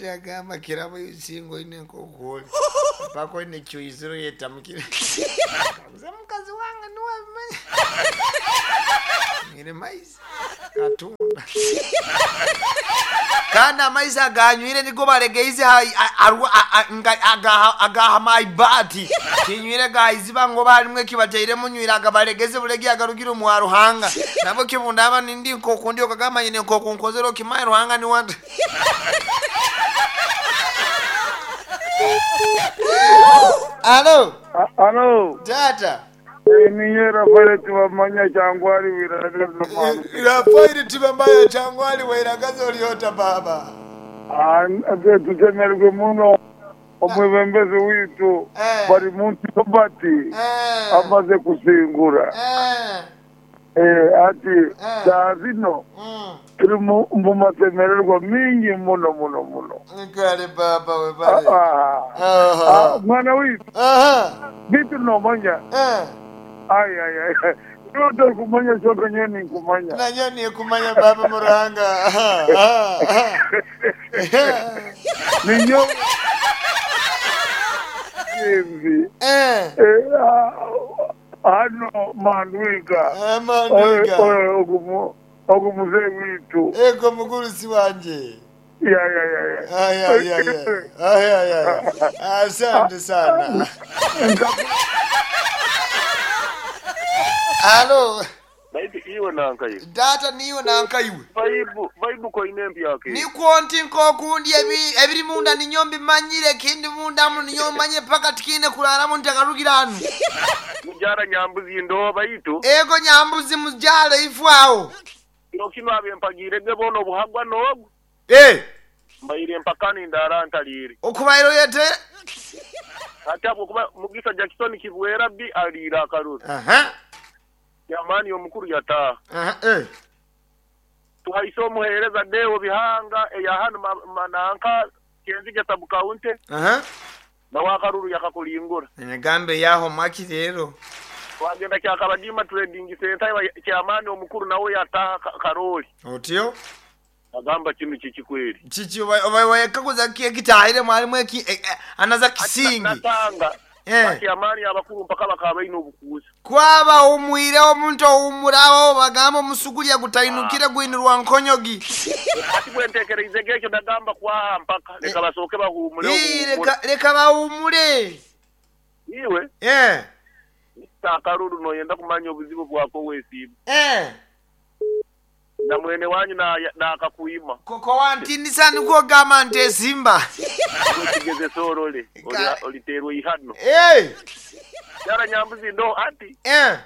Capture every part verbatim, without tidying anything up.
Omusajja agamba kirabo singa oine nk'okwoli paka oine kyuyiziro yetamukire kaguza mukazi wange niwabimanya nywire maizi katunda kandi amaizi aganywire nigo baregeize agaha maibati kinywire gaiziba ngo barimwe kibateiremu nywire agabaregeze bulegi agarugire omwa Ruhanga nabo kibundaba nindi nkokundi okagamba nyine nkokunkozera okimaye Ruhanga niwanda. Alo. Alo. Tata. Ninye Rafael Tibamanya Changwali wiragaza mwana. Rafael Tibamanya Changwali wiragaza oliota baba. Ah, tutemerwe muno omwebembezi witu Eh. bari muntu Robert Eh. amaze kusingura. Eh. Eh, ati Eh. saa zino Mm. turi mu mu masemererwa mingi muno muno muno. Kale baba we Ah, bale. ah. Aha. Ah, mwana witu Aha. bitu nomanya Eh. ay ay ay niba utari kumanya shoka nyewe ninkumanya Nanyo ni kumanya baba Muranga. Aha. Aha. ninyo Jimbi. Eh. Eh, ah, hano mandwiga Eh mandwiga. ogu muzee witu Ego mugurusi wanje. ya ya ya ya Ay ay ay ay. Ay ay ay. Asante sana. Alo. Baibu iwe nanka iwe. Data niwe nanka iwe. Baibu baibu koine empyaka. Nikwo nti nkokundi ebi ebiri munda ninyo mbimanyire kindi munda mu ninyo manye paka tikine kularamu ntakarugira anu. Mujara nyambuzi ndo baitu. Ego nyambuzi mujara ifu awo. Kino kino abe mpagire ge bono obuhagwa nogu. Eh. Mbaire mpakani ndara ntalire. Okubairo yete. Ati abo kuba Mugisa Jackson Kibwera bi alira akaruru. Aha. Yamani omukuru yataha. Aha eh. Tuhaise omuheereza Deo Bihanga eya hano mananka Kenzige sub county. Aha. Nawe akaruru yakakulingura. Nyagambe yaho maki rero. Wagenda kyakabadima trading center kyamani omukuru nawe yataha Karoli. Otyo? Agamba kinu kiki kweli. Chichi wekakuza kitahire mwalimu eki anaza kisingi. Natanga. Eh. Kyamani abakuru mpaka bakaba ino obukuusa. Kwaba umwire omuntu owumurawo bagamba omusugulya gutainukire gwinirwa nkonyogi. Ati bwentekereize gekyo ndagamba kwaha mpaka leka basooke bahumule. Leka leka bahumule. Iwe? Eh. Akaruru noyenda kumanya obuzibu bwako wesiiba. Eh. Na mwene wanyu na na akakuima. Koko wantindisa niko gamba nte simba. Kigeze sorole oliterwe ihano. Eh. Yara nyambuzi ndo ati. Eh.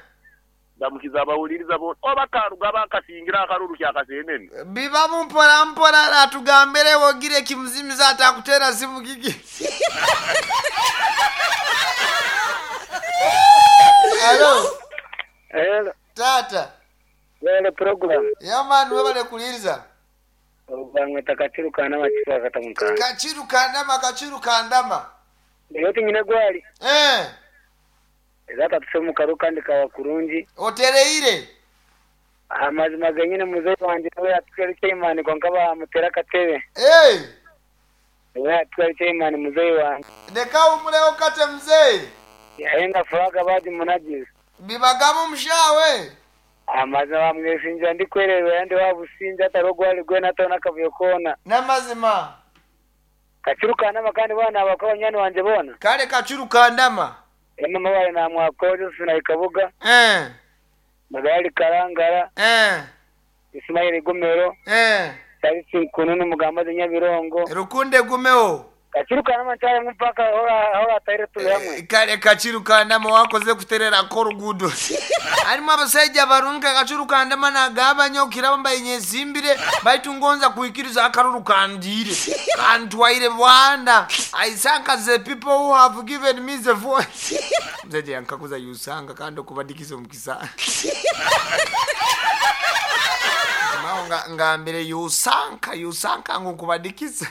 Ndamukiza abawuliriza bo oba karuga bakasingira akaruru kyakasenene. Biba mpora mpora atugambere wogire kimuzimiza atakutera simu kiki. Hello. Hello. Tata. Wele program. Ya man webale kuliriza. Obangwe takachiru kanama chiru katamuka. Kachiru kandama kachiru kandama. Yote nyine gwali. Eh. Ezata tusemu karuka ndika wakurungi. Otereire. Amazima genyine muzee wanje we atwari chairman konkaba amutera katebe. Eh. We atwari chairman muzee wanje. Ndeka umuleo kate mzee. Yaenda furaga badi munajizi. Bibagamu mshawe. Amazima mwesinja ndikwererwa yandi wabusinja atarogwali gwe natona kavuyo kona. Namazima. Kachiru kandama kandi bana abakaba nyani wanje bona. Kale kachiru kandama. Ema mabale na mwako Josephine Ikabuga. Eh. Magali Karangara. Eh. Ismail Gumero. Eh. Tarisi Kununu Mugamba Nyabirongo. Rukunde Gumeo. Kachiru kandama ntare mpaka hora hora taire tuli hamwe. Kale kachiru kandama wakoze kuterera korugudo. Alimu abasajja barunka kachiru kandama nagaba okiraba mbayenyezimbire baitungonza kuikiriza akaruru kandire. Kantwaire bwanda. I thank the people who have given me the voice. Mzaje yankakuza yusanga kando kubadikiza omukisa. Mao nga ngambire yusanka yusanka ngukubadikiza.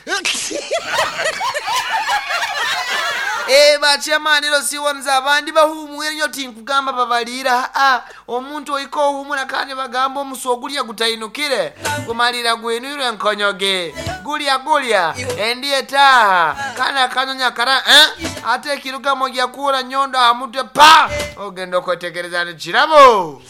Eh bachemani lo siwonza abandi bahumwe nyo tinkugamba babalira ah omuntu oiko humura kandi bagamba omusogulya gutayinukire kumalira gwenure nkonyoge Gulya gulya endi etaaha kana akanyonya kara eh? Ate ekirugamo gyakuura nyondo aha mutwe pa ogenda okwetegereza ni kirabo.